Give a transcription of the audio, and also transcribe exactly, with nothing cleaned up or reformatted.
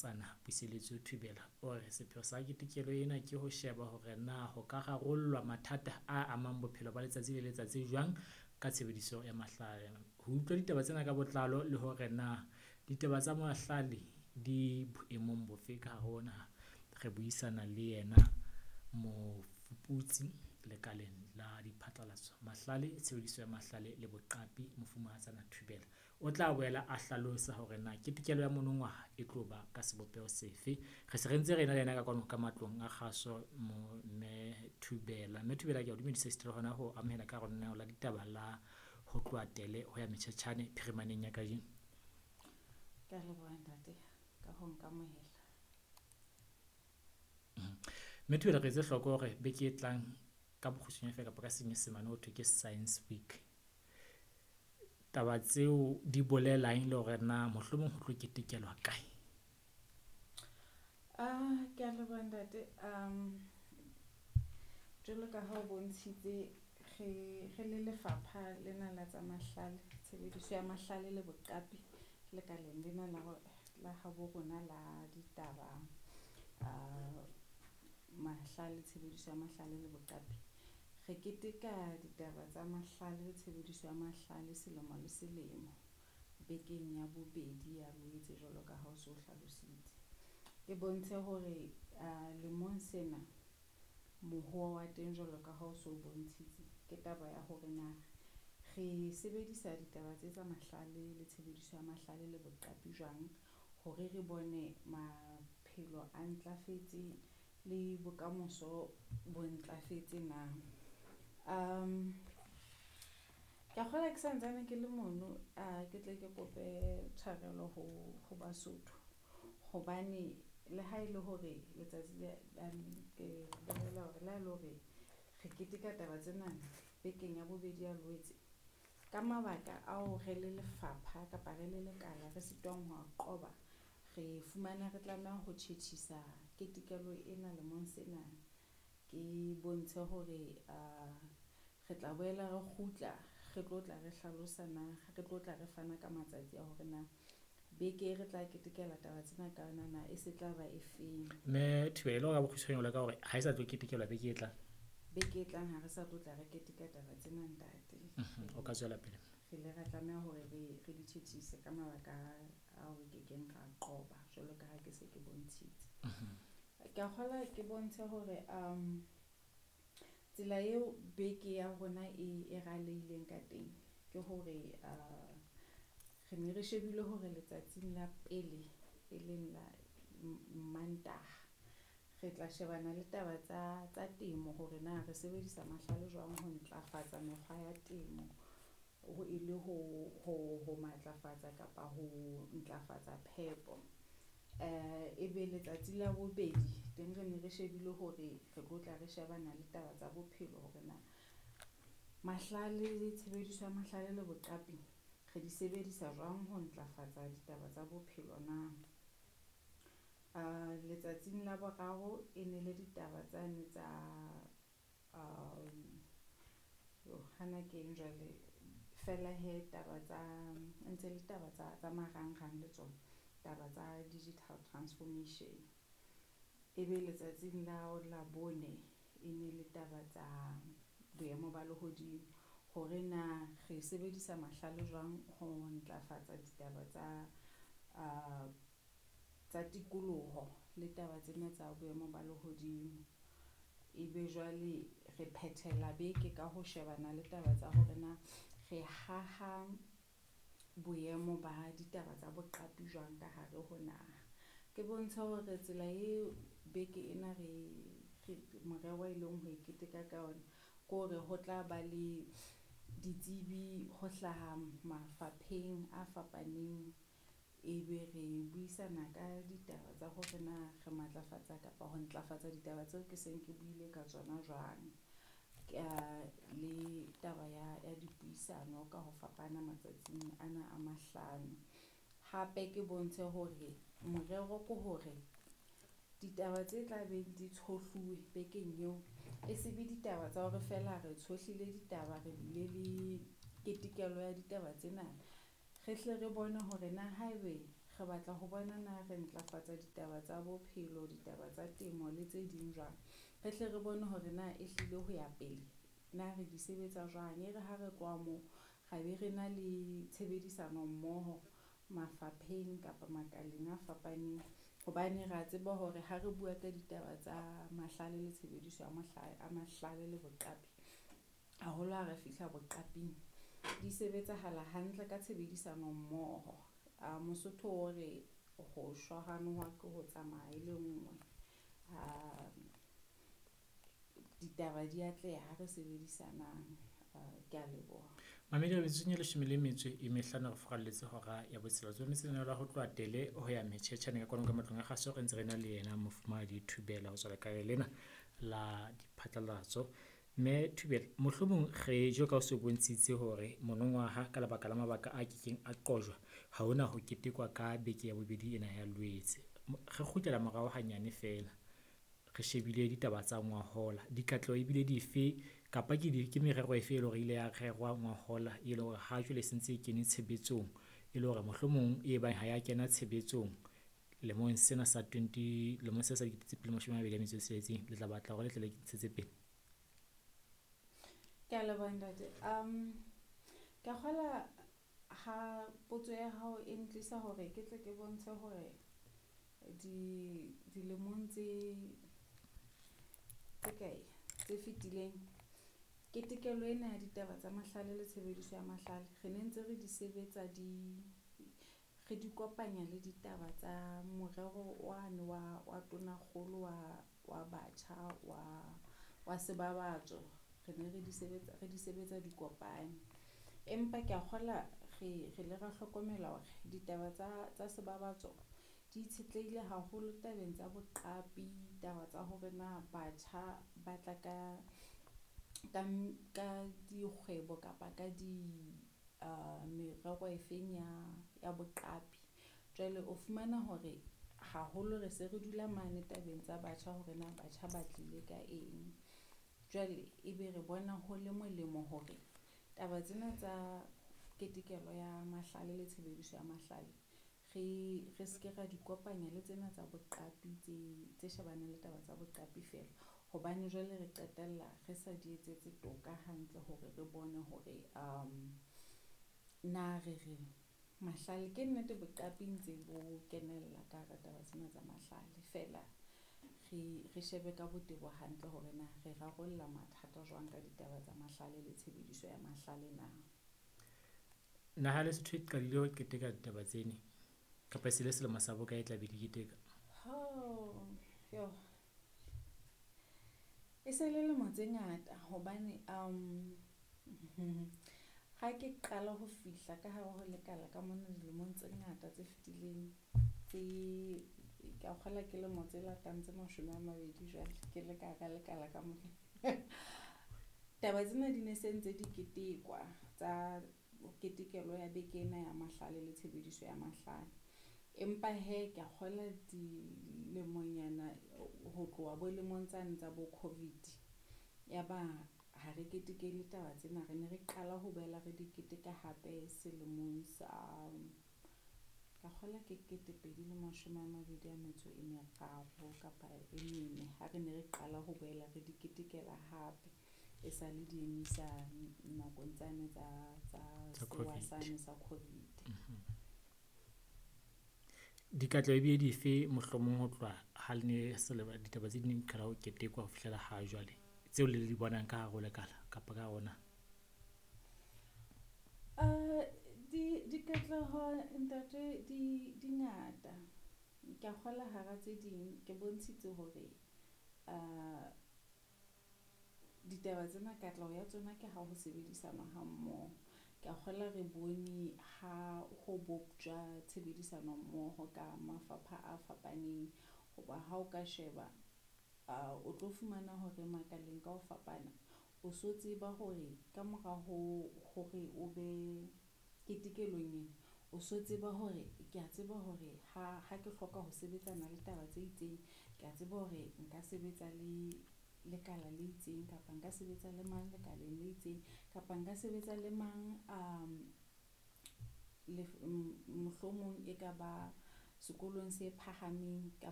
Mofumahatsana Puseletso Thubela o re sepheo sa ketekelo ena ke ho sheba hore na ho ka rarollwa mathata a amang bophelo ba letsatsi le letsatsi jwang ka tshebediso ya mahlale. Ho utlwa ditaba tsena ka botlalo le hore na ditaba tsa mahlale di boemong bofe ka hare ho naha, re buisana le yena mofuputsi lekaleng la diphatlalatso, mahlale, tshebediso ya mahlale le boqapi, Mofumahatsana Thubela. O tla boela a hlalosa hore na ketekelo ya monongwaha e tlo ba ka sebopeho sefe. Re se re ntse re ena le yena ka kwano ka matlong a kgaso mme Thubela. Mme Thubela ke a o dumedisa esita le hona ho amohela ka hara lenaneo la ditaba la ho tloha tele ho ya metjhetjhane phirimaneng ya kajeno. Ke a leboha ntate ka ho nkamohela. Mme Thubela re etse hloko hore beke e tlang ka bokgutshwanya feela kapa ka senyesemane ho thwe ke Science Week. Taba tseo di bolelang le hore na mohlomong ho tlo ketekelwa kae? Ah, ke a leboha ntate. Um jwalo ka ha o bontshitse re re le lefapha lena la tsa mahlale, tshebediso ya mahlale le boqapi lekaleng lena la la habo rona la ditaba uh mahlale, tshebediso ya mahlale le boqapi. Re keteka ditaba tsa mahlale le tshebediso ya mahlale selemo le selemo bekeng ya bobedi ya Loetse jwalo ka ha o so hlalositse. Ke bontshe hore lemong sena mohoo wa teng jwalo ka ha o so bontshitse ke taba ya hore na re sebedisa ditaba tse tsa mahlale le tshebediso ya mahlale le boqapi jwang hore re bone maphelo a ntlafetse le bokamoso bo ntlafetse na. Um ke a kgolwa ke santsane ke le mono ke tle ke kope tshwarelo ho ho Basotho. Hobane le ha ele hore letsatsi le ke bolela hore le ha ele hore re keteka taba tsena bekeng ya bobedi ya Loetse. Ka mabaka ao re le lefapha kapa re le lekala re sitwang ho a qoba, re fumana re tlameha ho tjhetjhisa ketekelo ena lemong sena. Ke bontshe hore re tla boela re kgutla re tlo tla re hlalosa na re tlo tla re fana ka matsatsi a hore na beke e re tla ketekela taba tsena ka yona na e se tla ba e feng. Mme Thubela ka bokgutshwanya ka hore ha e sa tlo ketekelwa beke e tlang. Beke e tlang ha re sa tlo tla re keteka taba tsena ntate. O ka tswela pele. Re ile ra tlameha hore re re di tjhetjhise ka mabaka ao re kekeng ra qoba jwalo ka ha ke se ke bontshitse. Ke a kgolwa ke bontshe hore tsela eo beke ya rona e e raleileng ka teng ke hore re ne re shebile hore letsatsing la pele e leng la Mantaha re tla shebana le taba tsa tsa temo hore na re sebedisa mahlale jwang ho ntlafatsa mekgwa ya temo ho e le ho ho ho matlafatsa kapa ho ntlafatsa phepo. Ebe letsatsi la bobedi teng re ne re shebile hore re tlo tla re shebana le taba tsa bophelo hore na mahlale le tshebediso ya mahlale le boqapi re di sebedisa jwang ho ntlafatsa ditaba tsa bophelo na. Letsatsing la boraro e ne le ditaba tsane tsa hana keng jwale feela hee taba tsa ntse le taba tsa tsa marangrang le tsona. Taba tsa digital transformation. Ebe letsatsing la Labone e ne le taba tsa boemo ba lehodimo hore na re sebedisa mahlale jwang ho ntlafatsa ditaba tsa tsa tikoloho le taba tsena tsa boemo ba lehodimo. Ebe jwale re phethela beke ka ho shebana le taba tsa hore na re haha boemo ba ditaba tsa boqapi jwang ka hare ho naha. Ke bontshe hore tsela eo beke ena re re morero e leng ho e keteka ka ona ke hore ho tla ba le ditsebi ho hlaha mafapheng a fapaneng. Ebe re buisana ka ditaba tsa hore na re matlafatsa kapa ho ntlafatsa ditaba tseo ke seng ke buile ka tsona jwang. Le taba ya ya dipuisano ka ho fapana matsatsing ana a mahlano. Hape ke bontshe hore morero ke hore ditaba tse tla beng di tshohluwe bekeng eo e se be ditaba tsa hore feela re tshohlile ditaba, re bile le ketekelo ya ditaba tsena. Re hle re bone hore na haebe re Re batla ho bona na re ntlafatsa ditaba tsa bophelo, ditaba tsa temo le tse ding jwang. Re hle re bone hore na ehlile ho ya pele na re di sebetsa jwang. E re ha re tloha moo ra be re na le tshebedisano mmoho mafapheng kapa makaleng a fapaneng. Hobane re a tseba hore ha re bua ka ditaba tsa mahlale le tshebediso ya mahlale a mahlale le boqapi, haholo ha re fihla boqaping, di sebetsahala hantle ka tshebedisano mmoho. A Mosotho o re ho shwa ha noha ke ho tsamaya e le nngwe. Ditaba di atleha ha re sebedisanang. Ke a leboha. Mamedi metsotsong e leshome le metso e mehlano re furalletse hora ya botshelela. Tsometse lenaneo la ho tloha tele ho ya metjhetjhane ka kwano ka matlong a kgaso. Re ntse re na le yena Mofumahadi Thubela ho tswa lekaleng lena la diphatlalatso. Mme Thubela, mohlomong re jwalo ka o so bontshitse hore monongwaha ka lebaka la mabaka a kekeng a qojwa, ha hona ho ketekwa ka beke ya bobedi ena ya Loetse. Re kgutlela morao hanyane feela, re shebile ditaba tsa ngwahola, dikatleho ebile dife kapa ke di ke merero efe e leng hore ile ya rerwa ngwahola e leng hore ha jwale e sentse e kene tshebetsong, e le hore mohlomong e bang ha ya kena tshebetsong lemong sena sa twenty lemong sena sa dikete tse pedi mashome a mabedi a metso e tsheletseng, le tla batla hore le tle le ntshetse pele? Ke a leboha ntate. Um ke a kgola ha potso ya hao e ntlisa hore ke tle ke bontshe hore di dilemong tse tse kae tse fetileng ketekelo ena ya ditaba tsa mahlale le tshebediso ya mahlale re ne ntse re di sebetsa di re di kopanya le ditaba tsa morero wane wa wa tonakgolo wa wa batjha wa wa sebabatso. Re ne re di sebetsa re di sebetsa di kopane. Empa ke a kgola re re ile ra hlokomela hore ditaba tsa tsa sebabatso di itshetlehile haholo tabeng tsa boqapi, taba tsa hore na batjha ba tla ka ka ka dikgwebo kapa ka di merero e feng ya ya boqapi. Jwale o fumana hore haholo re se re dula mane tabeng tsa batjha hore na batjha ba tlile ka eng. Jwale ebe re bona ho le molemo hore taba tsena tsa ketekelo ya mahlale le tshebediso ya mahlale re re seke ra di kopanya le tsena tsa boqapi tse tse shebaneng le taba tsa boqapi feela. Hobane jwale re qetella re sa di etsetse toka hantle hore re bone hore na re re mahlale ke nnete boqapi ntse bo kenella ka hara taba tsena tsa mahlale feela re re shebe ka botebo hantle hore na re rarolla mathata jwang ka ditaba tsa mahlale le tshebediso ya mahlale na. Naha ya Lesotho e qadile ho keteka ditaba tsene kapa e se le selemo sa bokae e tla be di keteka? Oh, yo. E se le lemo tse ngata hobane um ha ke qala ho fihla ka hare ho lekala ka mona dilemong tse ngata tse fetileng tse ke a kgola ke lemo tse latang tse mashome a mabedi jwale ke le ka hara lekala ka mona. Taba tsena di ne se ntse di ketekwa tsa ketekelo ya beke ena ya mahlale le tshebediso ya mahlale. Empa hee ke a kgola dilemonyana ho tloha bo lemong tsane tsa bo COVID. Ya ba ha re ketekele taba tsena, re ne re qala ho boela re di keteka hape selemong sa ka kgola ke ketepedi le mashome a mabedi a metso e meraro kapa e mene ha re ne re qala ho boela re di ketekela hape. E sale di emisa nakong tsane tsa tsa Tsa sewa COVID. sane sa COVID. Dikatleho ebile dife mohlomong ho tloha ha le ne seleba ditaba tse ding di qala ho ketekwa ho fihlela ha jwale tseo le di bonang ka hare ho lekala kapa ka hare ho naha? Uh, di dikatleho ntate di di ngata. Ke a kgola hara tse ding ke bontshitse hore uh, ditaba tsena katleho ya tsona ke ha ho sebedisanwa ha mmoho. Ke a kgola re bone ha ho boptjwa tshebedisano mmoho ka mafapha a fapaneng. Hoba ha o ka sheba uh, o tlo fumana hore makaleng ka ho fapana o so tseba hore ka mora ho hore o be ketekelong ena o so tseba hore ke a tseba hore ha ha ke hloka ho sebetsana le taba tse itseng, ke a tseba hore nka sebetsa le lekala le itseng kapa nka sebetsa le mang lekaleng le itseng kapa nka sebetsa le mang um le mohlomong e ka ba sekolong se phahameng